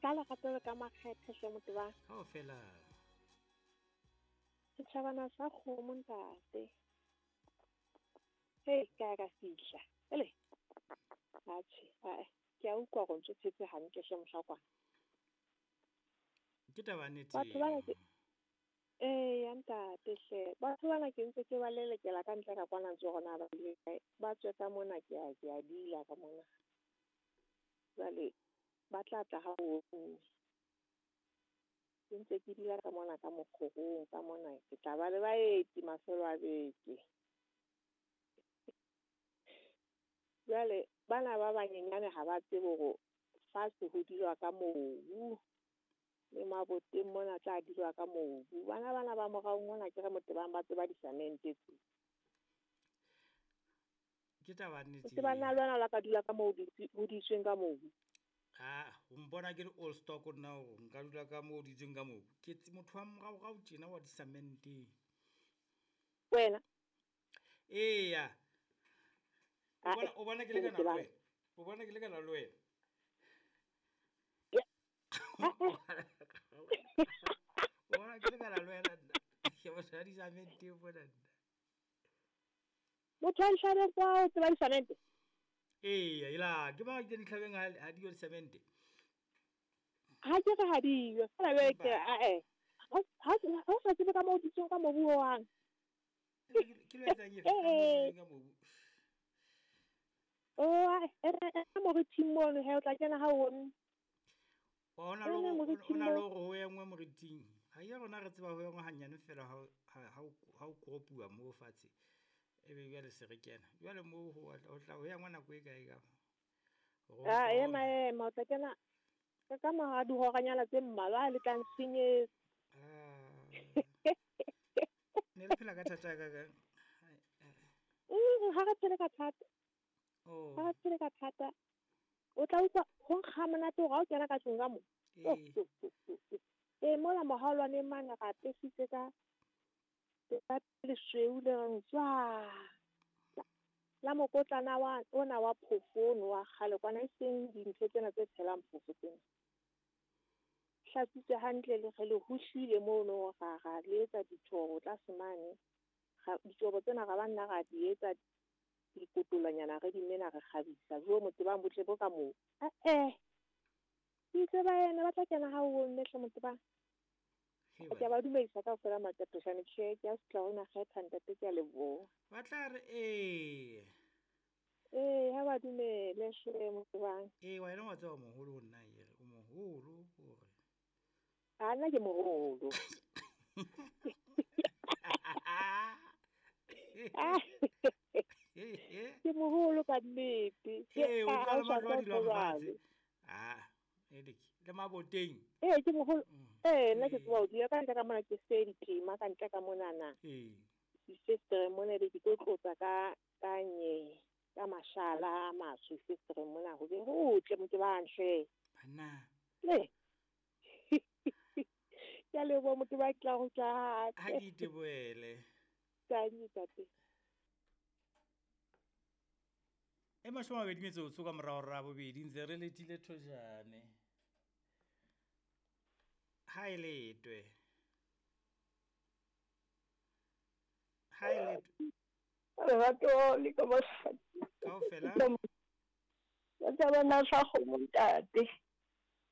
Ka lerato le ka makgethe hle Motebang. Kaofela. Setjhabana sa kgomo ntate. Hei, ka ya ka fihla. Ele. Atjhe, ae. Ke a utlwa hore o ntso phetse hantle hle mohlakwana. Ke taba ya nnete Batho bana eno. ke Eya ntate hle. Batho bana ke ntse ke ba lelekela ka ntle ka kwana ntse hore na ba ile kae. Ba tswe ka mona ke a ke a dila ka mona. Jwale ba tla tla ha o ke ntse ke dula ka mona ka mokgorong ka mona ke tla ba le baeti mafelo a beke. Jwale bana ba banyenyane ha ba tsebe hore fatshe ho dulwa ka mobu le maboteng mona tla dulwa ka mobu. Bana bana ba morao mona ke re Motebang ba tseba disamente tse. Ke taba ya nnete Motebang na eo. le wena o la ka dula ka moo ho ditsweng ka mobu? Ah, o mpona ke le old stock nna hore nka dula ka moo ditsweng ka mobu. Ke motho wa moraorao tjena wa disamenteng. Wena? Eya. O Ah, bona o bona ke lekana le Motebang. wena. O bona ke lekana le wena. Ya. Ah, eh. O bona ke lekana le wena nna. Ke motho wa disamenteng mona nna. Motho wa dihlabeng kwa o tseba disamente? Eya, ela ke mang ke dihlabeng ha di yo disamente. Ha ke re ha diyo. Feela jwale ke Empa ae. Ha o sa tsebe ka moo ditsweng ka mobu hohang. Ke lo etsang efe ka moo Eh. ditsweng ka mobu. Oh, e re e moriting mono he o tla kena ha o nne. Wa hona le Ene hore moriting o na le moo. hore ho engwe moriting. Ha ya rona re tseba ho engwe hanyane fela ha o koropuwa moo fatshe. Ebe jwale se re kena. Jwale moo ho tla ho engwa nako e kae ka? Hore o Ah, tlo ema ema o tla kena ka mora dihoranyana tse mmalwa le tla nsenyetsa. Ah. Ne le phela ka thata ka kang? Ha re phele ka thata. Oh. Ha re phele ka thata. O tla utlwa ho nkga monate hore ha o kena ka tlung ka mo. Ee. Ee, mola mohaolwaneng mane ra apesitse ka lesweu le reng tswa. La mokotlana wa ona wa phofo ono wa kgale kwana e seng dintho tsena tse tshelang phofo tsena. Hlatswitse hantle le re le hohlile mono ra le etsa dithobo tlase mane. Dithobo tsena ra ba nna ra di etsa dikotolwanyana re di mena re kgabisa. Jo Motebang botle bo ka moo. Eh. Ke itse ba ena ba tla kena ha o nne hle Motebang. He Ke a ba dumedisa kaofela Matatoshane tjhe ke a sutla hona kgetha ntate ke a leboha. Ba tla re ee. Ee, ha ba dumele hle Motebang. Ee, wena wa tseba moholo ho nna ere o moholo hore. A nna ke moholo. Ke moholo ka nnete. Ee, o Ha tla o le sa matlo a tswa dulang fatshe. jwale. Ah, eleke le maboteng. Ee, ke moholo. Ee, nna ke Ee. tseba ho dula ka ntle ka mona ke se ditema ka ntle ka monana. Ee. Difestereng mona be ke tlo tlotsa ka nye ka mashala a matsho festereng mona ho be hotle Motebang hle. Banna. Le. Ke a leboha Motebang ke tla kgutla hape. Ha ke itebohele. Tanki ntate. E 20 metsotso ka morao hora ya bobedi ntse re letile thojane. Ha e letwe. Ha e letwe. Lerato le ka mosadi. Kaofela. Ba tsabana sa kgomo ntate.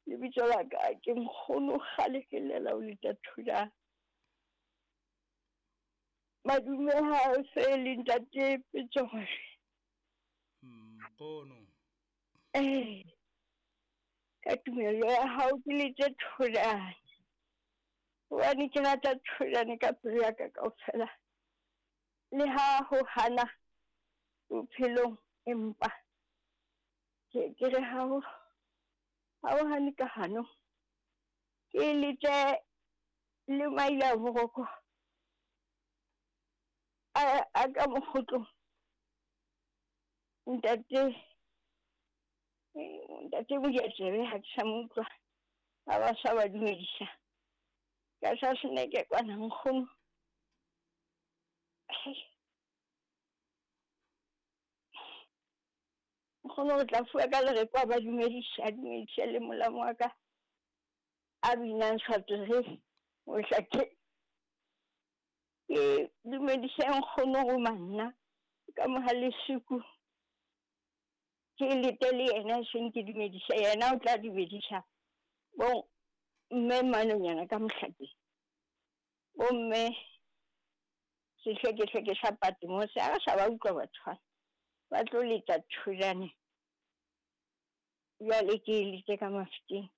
Lebitso la ka ke nkgono kgale ke llela ho leta thulana. Madume ha se le ntate Petsore. Nkgono. Eh. Ka tumelo ya hao ke lete thulane. Hobane ke rata thulane ka pelo ya ka kaofela. Le ha ho hana bophelong empa ke re ha ho hane ka hano. Ke lete le maila boroko. A ka mokgotlong. Ntate Modianyewe ha ke sa mo utlwa. Ha ba sa ba dumedisa. Ka sa seneke kwana nkgono. Nkgono o tla fuwa ka lereko a ba dumedisa, a dumedisa le molamo wa ka. A binang Swatshe Mohlakeng. Ke dumedise nkgono go manna ka Mohalesuku. Ke lete le yena, seng ke dumedisa yena, o tla dumedisa bo mme manonyana ka Mohlakeng. Bo mme sehlekehleke sa Patmos, a re sa ba utlwa batho bana ba tlo leta thulane. Jwale ke lete ka Mafikeng.